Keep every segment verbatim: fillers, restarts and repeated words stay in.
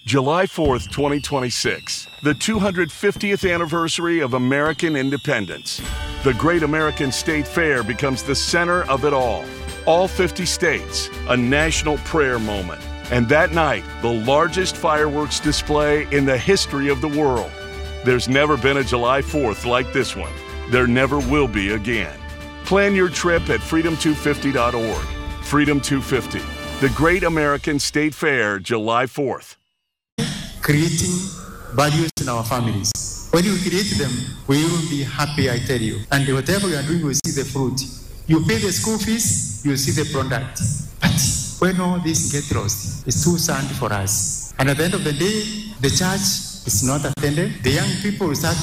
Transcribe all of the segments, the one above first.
July fourth, twenty twenty-six, the two hundred fiftieth anniversary of American independence. The Great American State Fair becomes the center of it all. All fifty states, a national prayer moment. And that night, the largest fireworks display in the history of the world. There's never been a July fourth like this one. There never will be again. Plan your trip at freedom two fifty dot org. Freedom two fifty, the Great American State Fair, July fourth. Creating values in our families. When you create them, we will be happy, I tell you. And whatever you are doing, we see the fruit. You pay the school fees, you see the product. But when all this get lost, it's too sad for us. And at the end of the day, the church is not attended. The young people will start,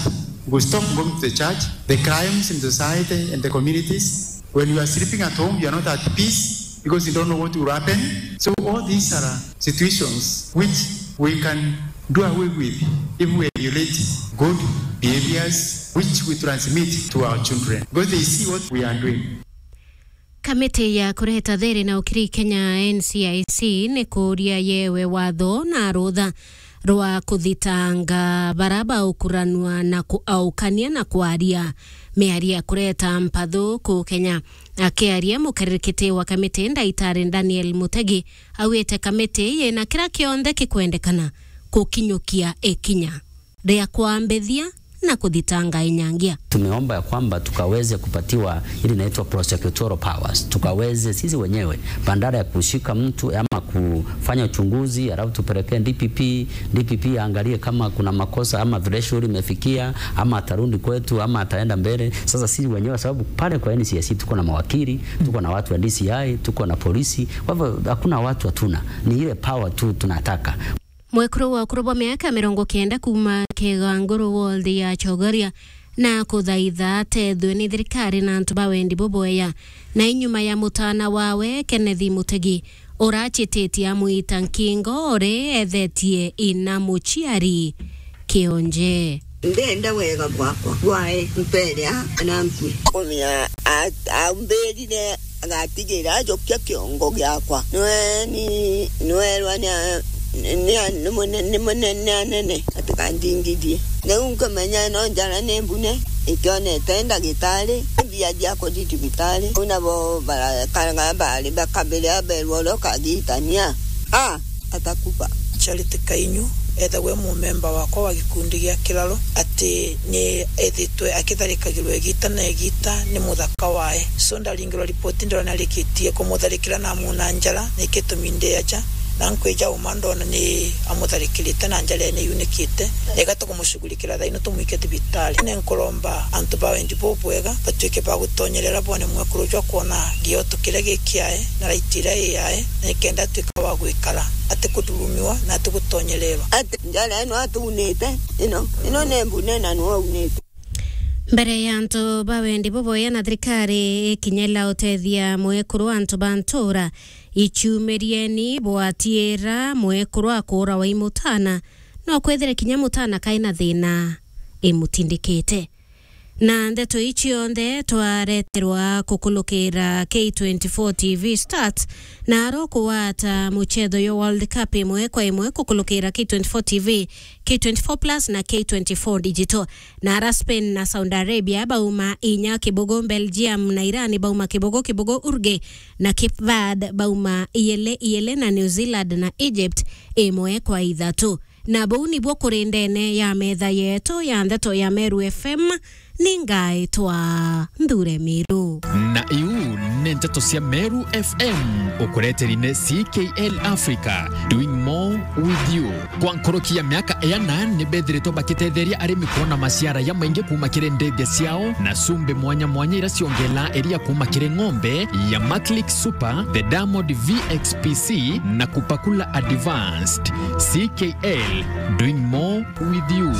will stop going to the church. The crimes in society and the communities, when you are sleeping at home, you are not at peace because you don't know what will happen. So all these are situations which we can do away with if we emulate good behaviors which we transmit to our children, because they see what we are doing. Kamiti ya kureta thiri na ukiri Kenya, N C I C, ni kuuria yewe watho na rutha rwa kuthitanga bara baukuranua na kuaukania na kwaria miario ya kureta mpathu ku Kenya. Akiaria mukarikiti wa kamiti, Ndaitari Daniel Mutegi, augite kamiti yina kira kionthe kikwendekana kukinyukia ikinya ria kwambithia na kuthitanga inyangia. Tumeomba ya kwamba tukaweze kupatiwa ile inaitwa prosecutorial powers, tukaweze sisi wenyewe, badala ya kushika mtu ama kufanya uchunguzi alafu tupelekee D P P, D P P aangalie kama kuna makosa ama threshold imefikia ama atarudi kwetu ama ataenda mbele. Sasa sisi wenyewe, sababu pale kwa N C I C tuko na mawakili, tuko na watu wa D C I, tuko na polisi, kwa hivyo hakuna watu hatuna, ni ile power tu tunataka. Mwekuru wa ukuru bwa miaka mirongo kenda kuuma Kiganguru ward ya Chogoria na kuthaitha atethwe ni thirikari na antu ba wendi buboya. Na inyuma ya mutana wawe, Kenneth Mutegi, urachititie amwita nkingo uri ethetie ina muciari kionje. Ndenda wega bwakwa bwae mperea na nkui. Kumia a-, aumbirire agatigira ajukia kiongo giakwa. Nwe ni, nwerwa ni a-, ni a-, ni mune-, ni munene anene atikandingithie. Riu nkamenya no njara ni mbune, ikionete ndagitari, mbia cia kuthi cibitari. Riu nabo barakaraga bari bakabire aberwa uria ukagitania. A, atakufa. Charity Kainyu ethagwe mumemba wakwa wa gikundi gia Kiraro, ati ni ethitwe akitharikagirwa igita na igita ni muthaka wae. So ndaringirwa ripoti, ndona arikitie kumutharikira na amuna njara, na ikitumi ndi aja, na nkwija uma ndona ni amutharikirite na njara ene yunikite, na igata kumushughulikira thaino tumwike thibitari. Ni nkuromba antu ba wendi bubwega batuike ba gutonyerera bone mwekuru jwa kwona gioto kiria gikiae na raiti iria iyae, na nikenda atuika wa gwikara atikuthurumiwa na atigutonyererwa. Ati njara ino atuunite, ino, ino ni mbune na niwe aunite. Mbere ya antu ba wendi buboya na thirikari ikinyela utethia mwekuru, antu ba ntura, ichumirieni bwatiira mwekuru akuura wai mutana, no kwithire kinya mutana kaina thina imutindikite. Na ndeto ii cionthe twareterwa kukulukira K twenty-four T V Stats, na aro kuwata muchetho yo World Cup imwe kwa imwe kukulukira K twenty-four T V, K twenty-four Plus na K twenty-four Digital. Na ara Spain na Saudi Arabia bauma inya kibugu, Belgium na Iran bauma kibugu kibugu, Uruguay na Cape Verde bauma iyele iyele, na New Zealand na Egypt imwe kwa ithatu. Na buu nibuo kuri ndene ya metha yetu ya ndeto ya Meru F M, ni ngaitwa Nthure Miru. Na iu ni ndeto cia Meru F M, ukureteri ni C K L Africa, doing more with you. Kwa nkuruki ya miaka iana, ni bethiritwe bakitetheria arimi kwona maciara ya maingi kuuma kiri ndithia ciao, na cumbi mwanya mwanya ira ciongelaa iria kuuma kiri ng'ombe ya Maclick Super, the Diamond V X P C, na Kupakula Advanced. C K L, doing more with you.